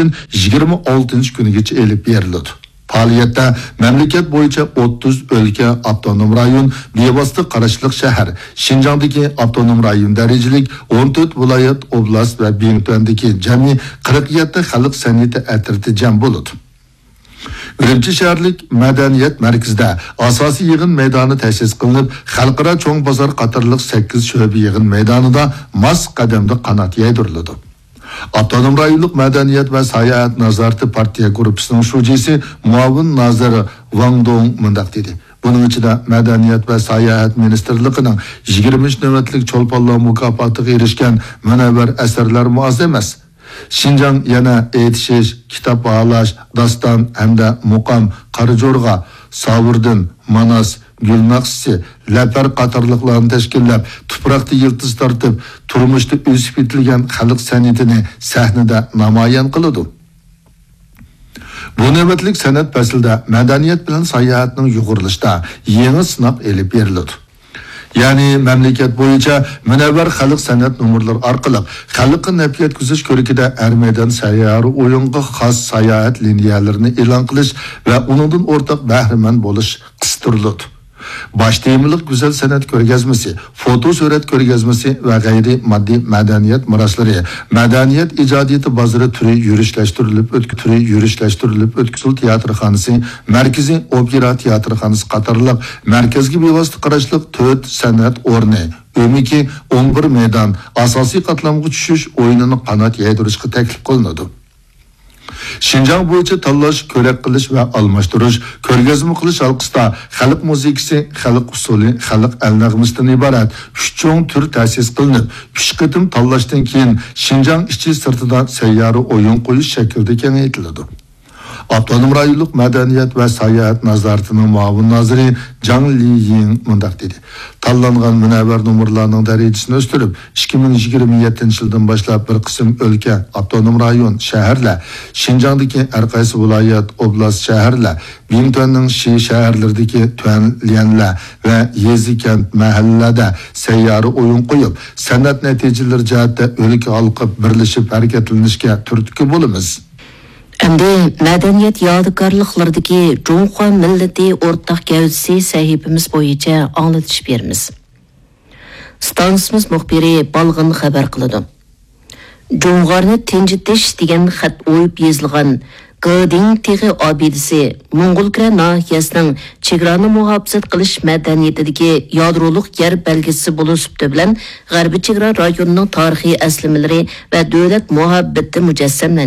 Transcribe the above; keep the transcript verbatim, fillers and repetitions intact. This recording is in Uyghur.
يىگىرمە ئالتىنچى كۈنىگىچە ئېلىپ بېرىلىدۇ. پائالىيەتتە مەملىكەت بويىچە ئوتتۇز ئۆلكە، ئاپتونوم رايون، بىۋاسىتە قاراشلىق شەھەر، شىنجاڭدىكى ئاپتونوم رايون دەرىجىلىك ئون تۆت ۋىلايەت، ئوبلاست ۋە بىڭتۈەندىكى جەمئىي قىرىق يەتتە خەلق سەنئىتى ئەترىتى جەم بولىدۇ. ئۈرۈمچى شەھەرلىك مەدەنىيەت مەركىزىدە ئاساسىي يىغىن مەيدانى تەسىس قىلىنىپ، خەلقئارا چوڭ بازار قاتارلىق سەككىز شۆبە يىغىن مەيدانىدا ماس قەدەمدە قانات يايدۇرۇلىدۇ. ئاپتونوم رايونلۇق مەدەنىيەت ۋە ساياھەت نازارىتى پارتىيە گۇرۇپپىسىنىڭ شۇجىسى، مۇئاۋىن نازىر ۋاڭ دۇڭ مۇنداق دېدى: بۇنىڭ ئىچىدە مەدەنىيەت ۋە ساياھەت مىنىستىرلىقىنىڭ يىگىرمىنچى نۆۋەتلىك چولپانلار مۇكاپاتىغا ئېرىشكەن مۇنەۋۋەر ئەسەرلەرمۇ ئاز ئەمەس. شىنجاڭ يەنە ئېيتىشىش، كىتاب باھالاش، داستان ھەمدە مۇقام، قارا جورغا، ساۋۇردىن، ماناس، گۈل ناخشىسى، لەپەر قاتارلىقلارنى تەشكىللەپ، تۇپراقتا يىلتىز تارتىپ، تۇرمۇشتا ئۆسۈپ يېتىلگەن خەلق سەنئىتىنى سەھنىدە نامايان قىلىدۇ. بۇ نۆۋەتلىك سەنئەت پەسلىدە مەدەنىيەت بىلەن ساياھەتنىڭ يۇغۇرۇلۇشىدا يېڭى سىناق ئېلىپ بېرىلىدۇ. يەنى مەملىكەت بويىچە مۇنەۋۋەر خەلق سەنئەت نومۇرلىرى ئارقىلىق خەلققە نەپ يەتكۈزۈش كۆرىكىدە ھەر مەيدان سەييارە ئويۇنغا خاس ساياھەت لىنىيەلىرىنى ئېلان قىلىش ۋە ئۇنىڭدىن ئورتاق بەھرىمەن بولۇش قىستۇرۇلىدۇ. باش تېمىلىق گۈزەل سەنئەت كۆرگەزمىسى، فوتو سۈرەت كۆرگەزمىسى ۋە غەيرىي ماددىي مەدەنىيەت مىراسلىرى، مەدەنىيەت ئىجادىيىتى بازىرى تۈرى يۈرۈشلەشتۈرۈلۈپ ئۆتك-، تۈرى يۈرۈشلەشتۈرۈلۈپ ئۆتكۈزۈل تىياتىرخانىسى، مەركىزىي ئوپېرا تىياتىرخانىسى قاتارلىق مەركەزگە بىۋاسىتە قاراشلىق تۆت سەنئەت ئورنى، ئۆمىكى ئون بىر مەيدان، ئاساسىي قاتلامغا چۈشۈش ئويۇنىنى قانات يايدۇرۇشقا تەكلىپ قىلىنىدۇ. شىنجاڭ بويىچە تاللاش، كۆرەك قىلىش ۋە ئالماشتۇرۇش، كۆرگەزمە قىلىش ھالقىسىدا خەلق مۇزىكىسى، خەلق ئۇسسۇلى، خەلق ئەل نەغمىسىدىن ئىبارەت ئۈچ چوڭ تۈر تەسىس قىلىنىپ، ئۈچ قېتىم تاللاشتىن كېيىن شىنجاڭ ئىچى سىرتىدا سەييارە ئويۇن قويۇش شەكلىدە كېڭەيتىلىدۇ. ئاپتونوم رايونلۇق مەدەنىيەت ۋە ساياھەت نازارىتىنىڭ مۇئاۋىن نازىرى جاڭ لىيىڭ مۇنداق دېدى: تاللانغان مۇنەۋۋەر نومۇرلارنىڭ دەرىجىسىنى ئۆستۈرۈپ، ئىككى مىڭ يىگىرمە يەتتىنچى يىلدىن باشلاپ بىر قىسىم ئۆلكە، ئاپتونوم رايون، شەھەرلەر، شىنجاڭدىكى ھەر قايسى ۋىلايەت، ئوبلاست، شەھەرلەر، بىڭتۈەننىڭ شى شەھەرلىرىدىكى تۈەنليەنلەر ۋە يېزا، كەنت، مەھەللىلەردە سەييارە ئويۇن قويۇپ، سەنئەت نەتىجىلىرى جەھەتتە ئۆلكە ھالقىپ بىرلىشىپ ھەرىكەتلىنىشكە تۈرتكە بولىمىز. ئەمدى مەدەنىيەت يادىكارلىقلىرىدىكى جۇڭخۇا مىللىتى ئورتاق گەۋدىسى سەھىپىمىز بويىچە ئاڭلىتىش بېرىمىز. ئىستانسىمىز مۇخبىرى بالغىن خەۋەر قىلىدۇ. جۇڭغارنى تىنجىتىش دېگەن خەت ئويۇپ يېزىلغان گېدىڭ تېغى ئابىدىسى موڭغۇلكۈرە ناھىيەسىنىڭ چېگرانى مۇھاپىزەت قىلىش مەدەنىيىتىدىكى يادرولۇق يەر بەلگىسى بولۇش سۈپىتى بىلەن غەربىي چېگرا رايونىنىڭ تارىخىي ئەسلىمىلىرى ۋە دۆلەت مۇھەببىتى مۇجەسسەملەندى.